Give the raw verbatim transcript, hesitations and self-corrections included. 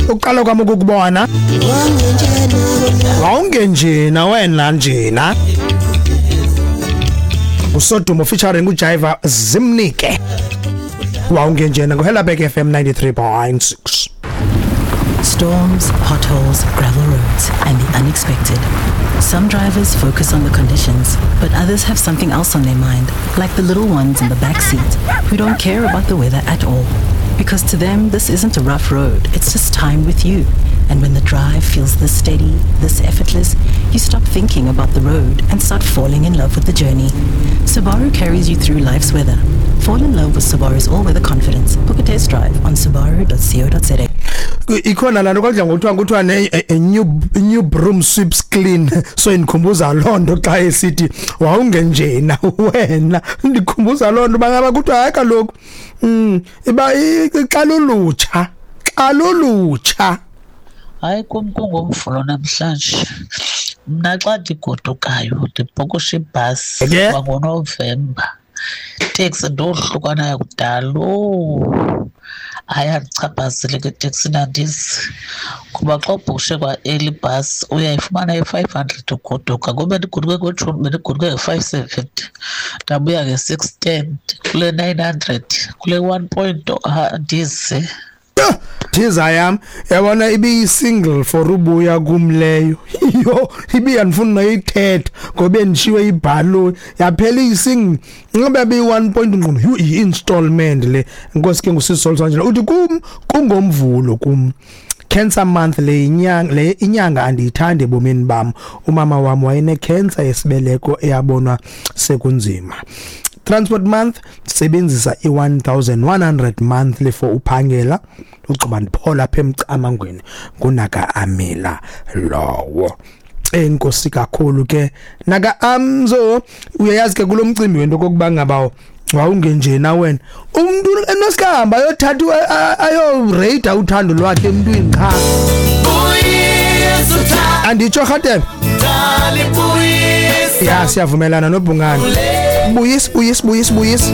Uqala kwami ukukubona wawungenjena wena njena. Usodumo featuring uJaiva Zimnike. Wawungenjena ngoHelabek F M ninety-three point six. Storms, potholes, gravel roads, and the unexpected. Some drivers focus on the conditions, but others have something else on their mind, like the little ones in the back seat who don't care about the weather at all. Because to them, this isn't a rough road, it's just time with you. And when the drive feels this steady, this effortless, you stop thinking about the road and start falling in love with the journey. Subaru carries you through life's weather. Fall in love with Subaru's all-weather confidence. Book a test drive on subaru dot co dot za. Ikhona laa nto kwakudla ngokuthiwa kuthiwa ne a new, new broom sweeps clean. So indikhumbuza loo nto xa esithi wawungenjena wena, ndikhumbuza loo nto bangaba kuthiwa hayi kaloku mm iba xa lulutsha xa lulutsha. Hayi kum kungomvulo namhlanje. Mna xa ndigodukayo ndibhukusha ibhasi kwangoNovemba. Iteksi ndohlukanayo kudala. Oh, hayi andichaphazele ke eteksini andizi. Kuba xa ubhukushe kwa-early bus uyayifumana i-five hundred ugoduka. Ngoba bendigoduke ngoJuni bendigoduke nge-five seventy, ndabuya nge-six ten, kule nine hundred, kule one point andizi. Thiza yam, yabona ibiyi-single for ubuya kum leyo. Yho, ibiyandifuna noyithetha ngoba bendishiwe ibhaloni yaphela iyi-single. Ingabe beyi-one point ngqondo, yhu, i-installment le. Enkosi ke ngusisi Solsangela uthi kum kungomvulo kum. Cancer month le inyanga le inyanga andiyithandi ebomini bam. Umama wam wayene-cancer yesibeleko eyabonwa sekunzima. Transport month sebenzisa i-one thousand one hundred monthly for uphangela. Ugqiba ndiphola apha emcamangweni ngunaka Amila lowo. Enkosi kakhulu ke naka Amzo. Uyayazi ke kulo mcimbi wento kokuba ngaba wawungenjena wena umuntu enosikahamba ayothatha ayoreyida uthando lwakhe emntwini qha. Anditsho rhatebe ya siyavumelana noBhungane. Buyis buyis buyis buyis.